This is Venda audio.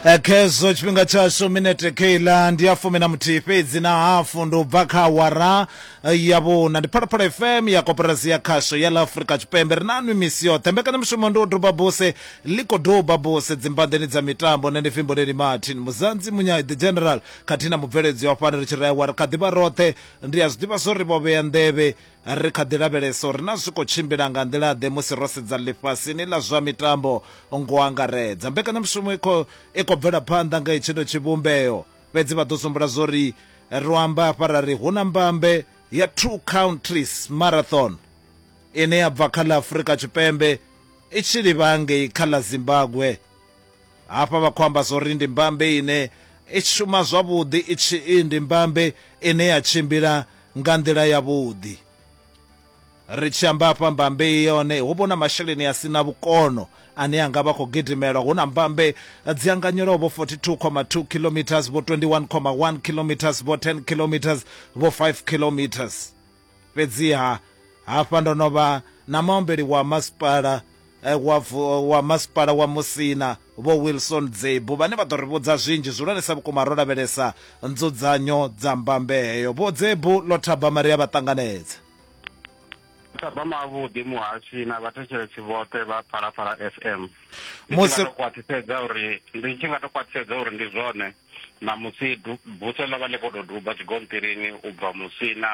Khezwo tshifhinga tshashu minete keiḽa ndi ya 11 fhedzi na hafu ndi u bva kha awara ya vhuna. Ndi Phalaphala FM ya Koporasi ya Khasho ya ḽa Afrika Tshipembe. Ri na nwi misi yoṱhe. Mbekanyamushumo ndi u duba buse ḽi khou duba buse dzimbanḓeni dza mitambo. Nṋe ndi Fimboleli Martin Muzanzi Munyai the General khathihi na mubveledzi wa fhano ri tshi ri aiwa ri kha ḓi vha roṱhe. Ndi a zwi ḓivha zwo ri vho vhea nḓevhe Ri kha ḓi lavhelesa uri naa zwi khou tshimbila nga nḓila-ḓe musi ro sedza ḽifhasini ḽa zwa mitambo ngo angaredza. Mbekanyamushumo i khou i khou bvela phanḓa nga hetshino tshivhumbeo, fhedzi vha ḓo sumbula zwori ro amba hafha ra ri hu na mbambe ya Two Countries Marathon ine ya bva kha ḽa Afrika Tshipembe i tshi livha ngei kha ḽa Zimbabwe. Hafha vha khou amba zwori ndi mbambe ine i shuma zwavhuḓi i tshi ndi mbambe ine ya tshimbila nga nḓila yavhuḓi. Ri tshi amba hafha mbambe i yone hu vho na masheleni a si na vhukono ane a nga vha khou gidimelwa. Hu na mbambe dzi anganyelwaho vho 42,2 kilometres, vho 21,1 kilometres, vho 10 kilometres, vho 5 kilometres. Fhedziha hafha ndo no vha na muambeli wa masipala wa wa masipala wa Musina Vho Wilson Dzebu vhane vha ḓo ri vhudza zwinzhi zwihulwanesa vhukuma ro lavhelesa nzudzanyo dza mbambe heyo. Vho Dzebu ḽo thabama ri a vha ṱanganedza. Thabama avhuḓi muhashi na vhathetshelesi vhoṱhe vha Phalaphala FM. Ndi tshi Musi nga to khwaṱhisedza uri ndi tshi nga to khwaṱhisedza uri ndi zwone ṋamusi buse ḽo vha ḽi khou tou duba tshigonṱirini u bva Musina.